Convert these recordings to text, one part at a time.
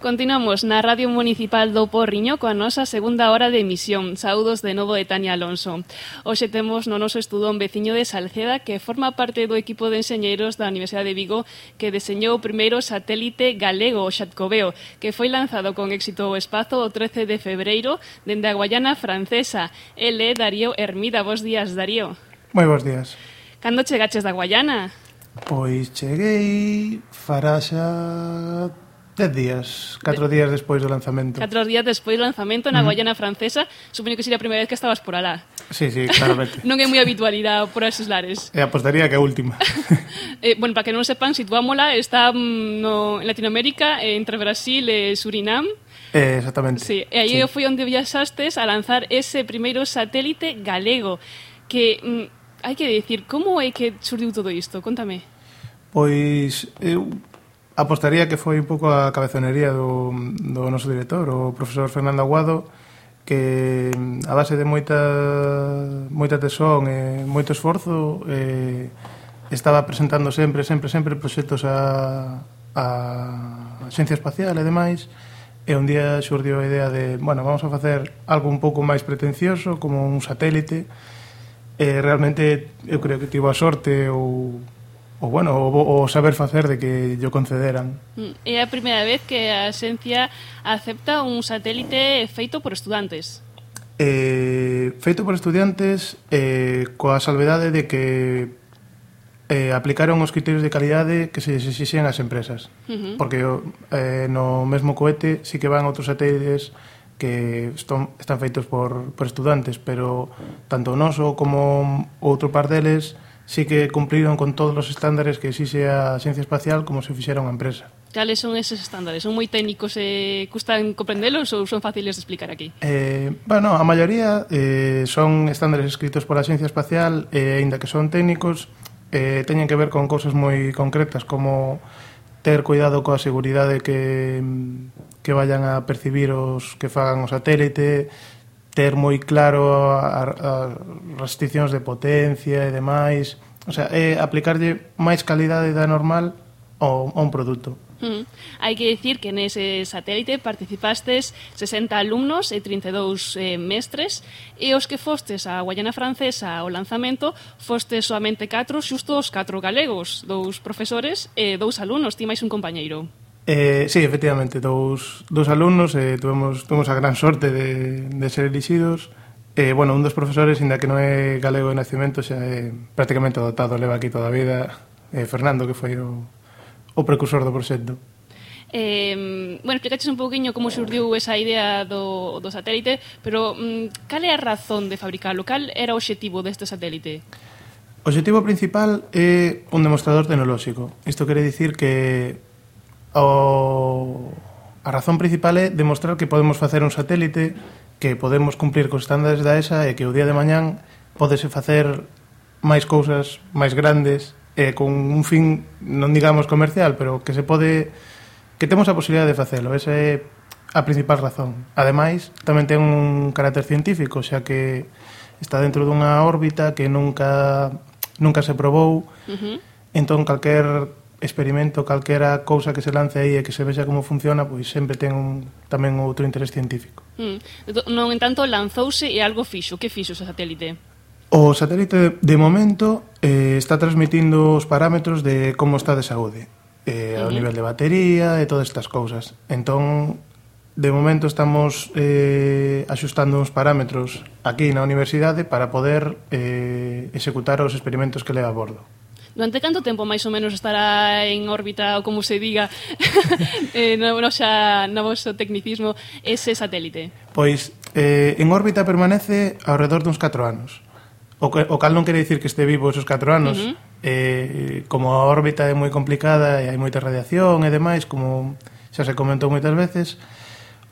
Continuamos na Radio Municipal do Porriño coa nosa segunda hora de emisión. Saúdos de novo de Tania Alonso. Hoxe temos no noso estudo un veciño de Salceda que forma parte do equipo de enxeñeiros da Universidade de Vigo que deseñou o primeiro satélite galego, o Xatcoveo, que foi lanzado con éxito ao espazo o 13 de febreiro dende a Guayana Francesa. Ele é Darío Hermida. Bos días, Darío. Moi bons días. Cando chegaches da Guayana? Pois cheguei fará xa 10 días, 4 días despois do lanzamento. 4 días despois do lanzamento na Guayana Francesa. Supoño que sería a primeira vez que estabas por alá. Sí, claramente. Non é moi habitual ir por esos lares. E apostaría que a última. Bueno, para que non sepan, situámola, está en Latinoamérica, entre Brasil e Surinam. Exactamente. Sí, e aí foi onde viaxastes a lanzar ese primeiro satélite galego. Que, hai que dicir, como é que surdiu todo isto? Contame. Pois, eu apostaría que foi un pouco a cabezonería do noso director, o profesor Fernando Aguado, que a base de moita tesón e moito esforzo estaba presentando sempre proxectos a Xencia Espacial e demais, e un día xurdiu a idea de, bueno, vamos a facer algo un pouco máis pretencioso, como un satélite, e realmente eu creo que tivo a sorte o saber facer de que yo concederan. É a primeira vez que a Xencia acepta un satélite feito por estudantes. Feito por estudantes coa salvedade de que aplicaron os criterios de calidade que se exixían ás empresas. Porque no mesmo cohete sí que van outros satélites que están feitos por estudantes, pero tanto o noso como outro par deles sí que cumpriron con todos os estándares que exixe a Xencia Espacial como se fixera unha empresa. Cales son eses estándares? Son moi técnicos e custan comprendelos ou son fáciles de explicar aquí? Bueno, a maioría son estándares escritos pola Xencia Espacial e, aínda que son técnicos, teñen que ver con cousas moi concretas como ter cuidado coa seguridade que vayan a percibir os que fagan o satélite, ter moi claro as restriccións de potencia e demais, o sea, aplicarlle máis calidade da normal a un produto. Hai que dicir que nese satélite participastes 60 alumnos e 32 mestres, e os que fostes a Guayana Francesa ao lanzamento fostes soamente 4, xusto os 4 galegos, 2 profesores e 2 alumnos, ti máis un compañeiro. Sí, efectivamente, dous alumnos, tuvemos a gran sorte de ser elixidos. Bueno, un dos profesores, ainda que non é galego de nacemento, xa é prácticamente adoptado, leva aquí toda a vida, Fernando, que foi o precursor do proxecto. Bueno, explicaches un pouquiño como surdiu esa idea do satélite, pero cal é a razón de fabricalo? Cal era o obxectivo deste satélite? O obxectivo principal é un demostrador tecnolóxico. Isto quere dicir que a razón principal é demostrar que podemos facer un satélite, que podemos cumplir cos estándares da ESA e que o día de mañán podese facer máis cousas máis grandes con un fin, non digamos comercial, pero que se pode, que temos a posibilidade de facelo. Esa é a principal razón. Ademais, tamén ten un carácter científico, xa que está dentro dunha órbita que nunca se probou. Entón, calquer experimento, calquera cousa que se lance aí e que se vexa como funciona, pois sempre ten tamén outro interés científico. Non, en tanto, lanzouse e algo fixo. Que fixo ese satélite? O satélite, de momento, está transmitindo os parámetros de como está de saúde, ao nivel de batería e todas estas cousas. Entón, de momento estamos axustando uns parámetros aquí na universidade para poder executar os experimentos que leva a bordo. Durante canto tempo máis ou menos estará en órbita, ou como se diga, no vosso tecnicismo, ese satélite? Pois, en órbita permanece ao redor duns 4 anos. O cal non quere dicir que este vivo esos 4 anos. Como a órbita é moi complicada e hai moita radiación e demais, como xa se comentou moitas veces,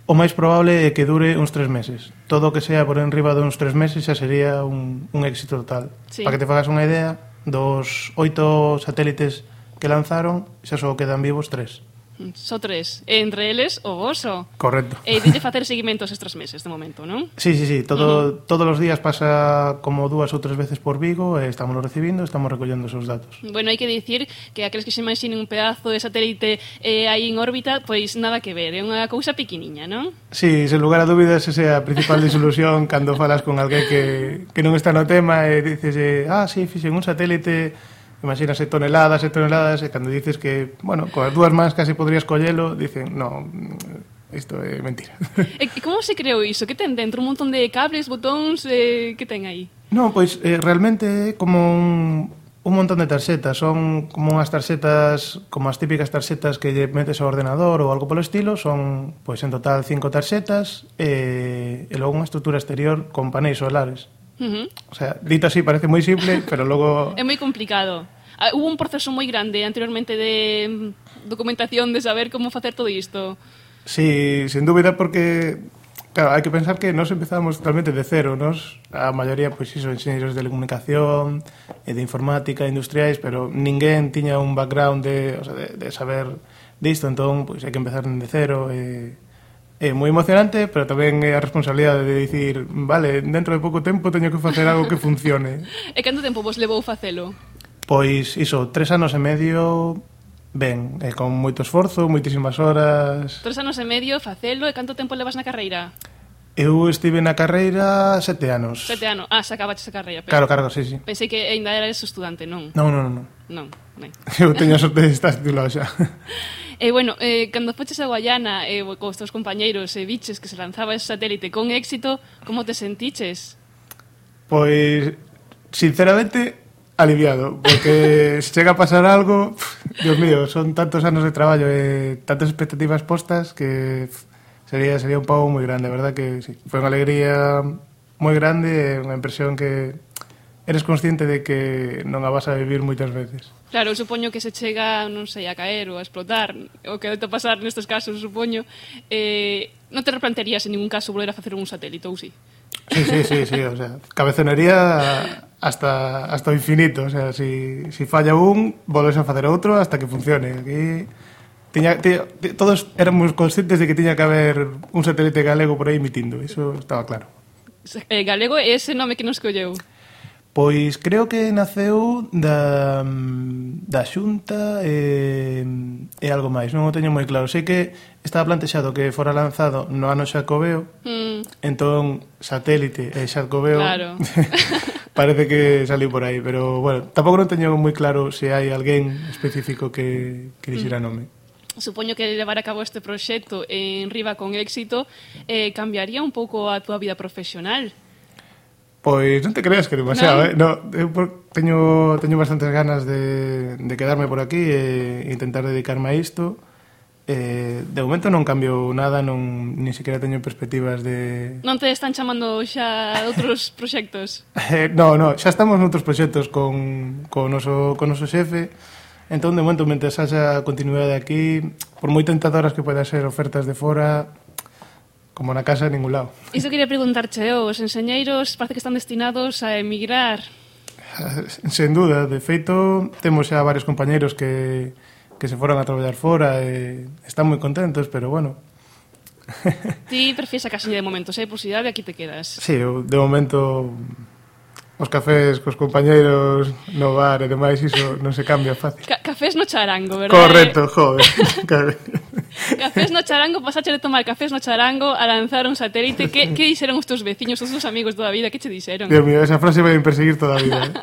o máis probable é que dure uns 3 meses. Todo o que sea por enriba de uns 3 meses xa sería un éxito total. Sí. Para que te fagas unha idea, dos 8 satélites que lanzaron, xa só quedan vivos 3. Só 3. Entre eles, o voso. Correcto. E dille facer seguimentos estes meses, de momento, non? Sí. Todos os días pasa como 2 ou 3 veces por Vigo e estamos recibindo, estamos recollendo esos datos. Bueno, hai que dicir que aqueles que se imaginen un pedazo de satélite aí en órbita, pois nada que ver, é unha cousa pequeniña, non? Sí, sen lugar a dúbidas, esa é a principal disolución cando falas con alguén que non está no tema e dices, sí, fixen un satélite, imagínase toneladas e toneladas, e cando dices que, bueno, coas 2 mans casi podrías collelo, dicen, no, isto é mentira. E como se creou iso? Que ten dentro? Un montón de cables, botóns, que ten aí? Non, pois realmente é como un montón de tarxetas, son como unhas tarxetas, como as típicas tarxetas que lle metes ao ordenador ou algo polo estilo, son, pois en total 5 tarxetas e logo unha estrutura exterior con paneis solares. O sea, dito así parece moi simple, pero logo... É moi complicado. Hubo un proceso moi grande anteriormente de documentación de saber como facer todo isto. Sí, sin dúbida, porque claro, hai que pensar que nós empezamos totalmente de cero. Nós, a maioría, pois iso, enxeñeiros de telecomunicación e de informática, industriais, pero ninguén tiña un background de saber disto, entón, pois hai que empezar de cero e... É moi emocionante, pero tamén é a responsabilidade de dicir, vale, dentro de pouco tempo teño que facer algo que funcione. E canto tempo vos levou facelo? Pois iso, 3 anos e medio, ben, con moito esforzo, moitísimas horas. 3 anos e medio facelo, e canto tempo levas na carreira? Eu estive na carreira 7 anos. 7 anos, se acabaches a carreira. Claro, sí. Pensei que ainda eras estudante, non? Non. Non. Eu teño a sorte de estar titulado xa. E bueno, cando foches a Guayana cos teus compañeiros e viches que se lanzaba ese satélite con éxito, como te sentiches? Pois, sinceramente, aliviado, porque se chega a pasar algo, Dios mío, son tantos anos de traballo e tantas expectativas postas que sería un pago moi grande, verdad que sí. Foi unha alegría moi grande e unha impresión que eres consciente de que non a vas a vivir moitas veces. Claro, eu supoño que se chega, non sei, a caer ou a explotar, o que debe pasar nestes casos, supoño, non te replantearías en ningún caso volver a facer un satélite, ou sí? Sí, o sea, cabezonería hasta o infinito, o sea, si falla un, volves a facer outro hasta que funcione. Aquí todos éramos conscientes de que tiña que haber un satélite galego por aí emitindo, iso estaba claro. Galego é ese nome que nos colleu? Pois creo que naceu da Xunta e algo máis, non o teño moi claro. Sei que estaba plantexado que fora lanzado no ano Xacobeo, entón satélite e Xacobeo claro. Parece que saliu por aí, pero bueno, tampouco non teño moi claro se hai alguén específico que dixera nome. Supoño que levar a cabo este proxecto en Riva con éxito cambiaría un pouco a túa vida profesional. Pois non te creas que demasiado, ¿no? Eu teño bastantes ganas de quedarme por aquí e intentar dedicarme a isto. De momento non cambio nada, nin sequera teño perspectivas de... Non te están chamando xa outros proxectos? No, xa estamos noutros proxectos con o noso xefe. Entón, de momento, mentre haxa continuidade aquí, por moi tentadoras que poida ser ofertas de fora... como na casa en ningún lado. Iso quería preguntarche, os enxeñeiros parece que están destinados a emigrar. Sen duda, de feito, temos xa varios compañeiros que se foron a traballar fora e están moi contentos, pero bueno. Ti prefires a casiña de momento, se hai posibilidade, aquí te quedas. Sí, eu, de momento, os cafés cos compañeiros no bar e demais, iso non se cambia fácil. Cafés no charango, verdad? Correcto, joder. Cafés no charango, pasache de tomar cafés no charango a lanzar un satélite. Que dixeron os teus veciños, os teus amigos toda a vida? Que che dixeron? Dios mío, esa frase vai perseguir toda a vida.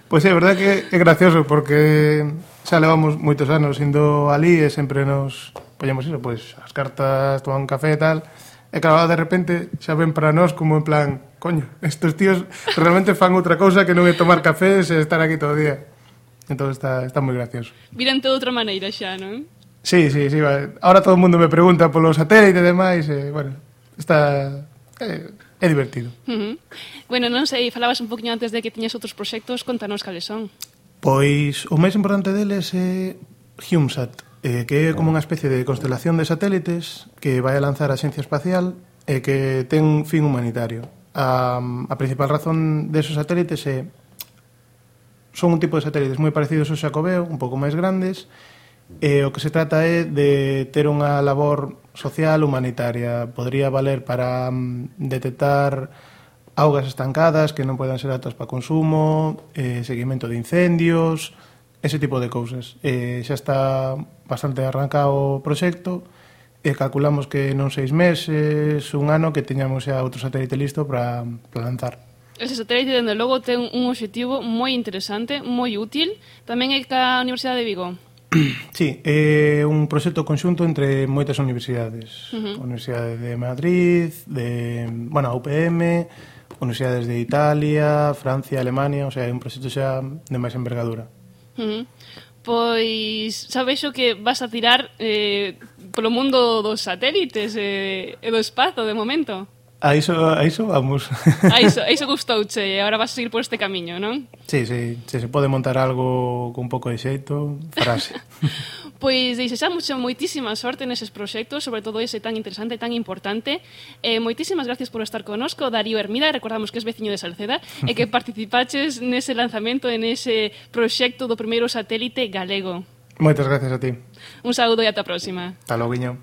Pois é, verdad que é gracioso porque xa levamos moitos anos indo ali e sempre nos poñemos iso, pois as cartas, tomar un café e tal. E claro, de repente xa ven para nós como en plan, coño, estes tíos realmente fan outra cousa que non é tomar cafés e estar aquí todo o día. Entón está moi gracioso. Viran de outra maneira xa, non? Sí, vale. Ahora todo o mundo me pregunta polo satélite e demais, e, bueno, é divertido. Bueno, non sei, falabas un poquinho antes de que tiñas outros proxectos, contanos cales son. Pois o máis importante deles é HumeSat, que é como unha especie de constelación de satélites que vai a lanzar a Axencia Espacial e que ten un fin humanitario. A principal razón desos satélites son un tipo de satélites moi parecidos ao Xacobeo, un pouco máis grandes, E o que se trata é de ter unha labor social humanitaria. Podría valer para detectar augas estancadas que non poden ser aptas para consumo, seguimento de incendios, ese tipo de cousas. Xa está bastante arrancado o proxecto e calculamos que non 6 meses, un ano, que teñamos xa outro satélite listo para lanzar. Ese satélite, dende logo, ten un obxectivo moi interesante, moi útil. Tamén é ca Universidade de Vigo. Sí, é un proxecto conxunto entre moitas universidades. A Universidade de Madrid, a UPM, universidades de Italia, Francia, Alemania, o sea, é un proxecto xa de máis envergadura. Pois xa vexo que vas a tirar polo mundo dos satélites e do espazo, de momento. A iso vamos. A iso gustouche e agora vas a seguir por este camiño, non? Sí, se pode montar algo con un pouco de xeito, farase. Pois desexamos moitísima sorte neses proxectos, sobre todo ese tan interesante, tan importante. Moitísimas gracias por estar connosco, Darío Hermida, recordamos que es veciño de Salceda, e que participaches nese lanzamento, nese proxecto do primeiro satélite galego. Moitas gracias a ti. Un saúdo e ata a próxima. Hasta logo, guiño.